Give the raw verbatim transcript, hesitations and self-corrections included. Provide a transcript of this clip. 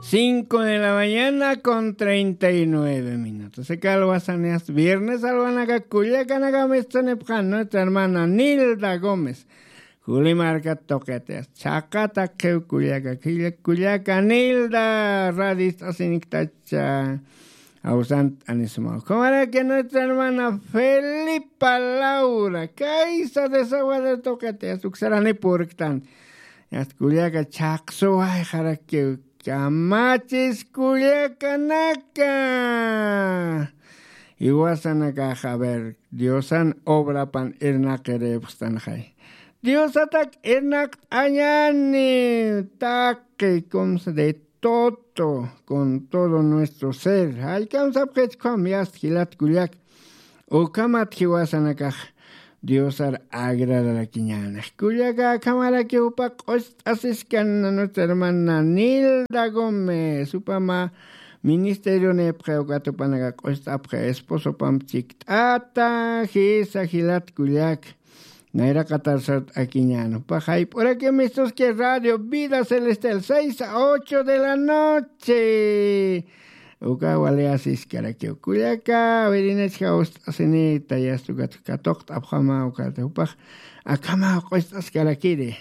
Cinco de la mañana con treinta y nueve minutos. Aka alwasanix viernes alwanaka kullakanaka mistsanipxan nuestra hermana Nilda Gómez. Juli markat tuqitix chhaqata qhiw kullaka, kullaka Nilda radist'asiniktacha. Awsant anisumaw. Kumaraki nuestra hermana Felipa Laura. Kaysa desaguadero tuqitix uksarani purktan. Yast kullaka chhaqsuwayxarakiw. Kamachis kullakanaka. Iwasanakax a ver diosan obrapan irnaqiripxstanxay. Diosatak irnaqt'añani taqi kumsa de todo con todo nuestro ser. Jallkamsapxitkham yast jilat kullak. Ukhamat jiwasanakax diosar agradarakiñanix kullaka akhamaraki jupa q'ust'asiskan nuestra hermana Nilda Gómez jupama ministerionipxi ukat jupanaka q'ust'apxi esposopam chikt'ata jisa jilat kullak. Nayraqatar sart'akiñan jupax jayp'uraki mistuski radio vida celestial seis a ocho de la noche. Uka wali asiskarakiw kullaka wirinachka ust'asinita yastukat katuqt'apxama ukata jupax akhama q'ust'askarakiri.